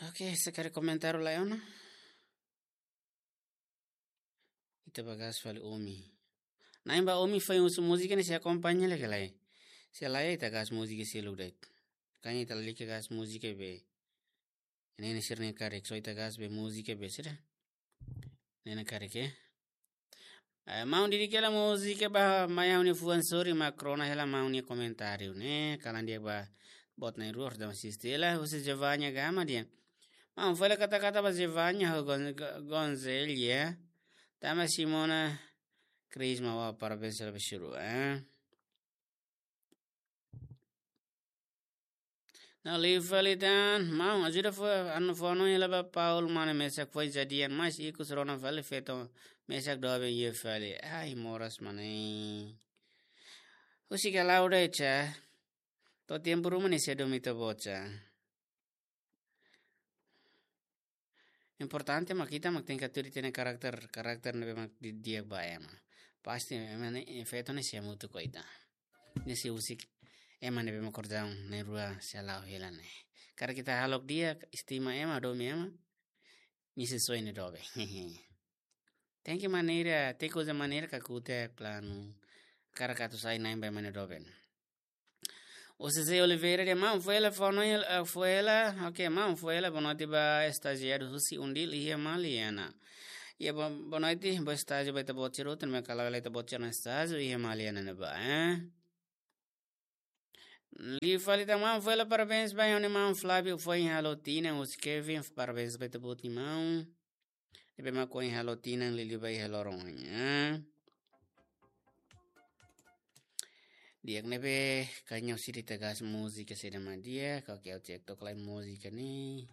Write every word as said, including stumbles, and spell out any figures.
Oke, se karik komentáriu laiha ona, ita ba gas fali Omi. Na'in ba Omi foin husu múzika ne'e sei akompaña lai ka lae? Se lae ita gas múzika seluk de'it. Kan ita lalika gas múzika be. Ne'e ne'e sira-ne'e karik, só ita gas be múzika be sira. Ne'e ne'e karik, eh. Eh, maun didik hela múzika ba mai ha'u-nia fuan, sorry mak rona hela maun nia komentáriu ne'e. Kalan di'ak ba boot na'in-rua, dama asiste hela, husi Giovanna Gama dehan. Maun, fó hela kata-kata ba Giovanna ho Gon-, Go-, Gonzelia. Tanba Simona Crisma, wah, parabéns hela ba sira, eh. Ne'e liu fali tan, maun, ajuda fó, anu, fó hanoin hela ba Paul, mane mesak foin jadian, mas ikus rona fali feto mesak doben iha fali. Ai, moras mane. Husik hela udah, Ica. To'o tempu ruma ne'e sei domin ita-boot, Ica. Importante mak ita mak tenke tuir ita-nia karakter, karakter ne'ebé mak di-, di'ak ba ema. Pasti ema ne'e, feto ne'e sei hamutuk ho ita. Ne'e sei husik ema ne'ebé mak kordang na'in-rua sei hala'o hela ne'e. Karik ita halo di'ak, estima ema, domin ema, nia sei soe nia doben. Tenke maneira, tenke uza maneira kakutak, planu. Karik atu sai na'in ba ema nia doben. O José Oliveira dehan maun, fó hela, fó hanoin, eh, fó hela, oke, maun, fó hela, boa noite ba estajiáriu husi UNDIL iha Maliana. Iha, bo-, boa noite, boa estájiu ba ita-boot sira hotu, ne'ebé kala hela ita-boot sira-nia estájiu iha Maliana ne'ebá, eh. Liu fali tan maun, fó hela parabéns ba ha'u-nia maun Flávio, foin halo tinan, husi Kevin, parabéns ba ita-boot nia maun. Ne'ebé mak foin halo tinan liuliu ba iha loron ohin, eh. Di'ak, ne'ebé, kaña sira ita gas múzika saida mak di'ak, oke, ha'u cek to'ok lai múzika ne'e.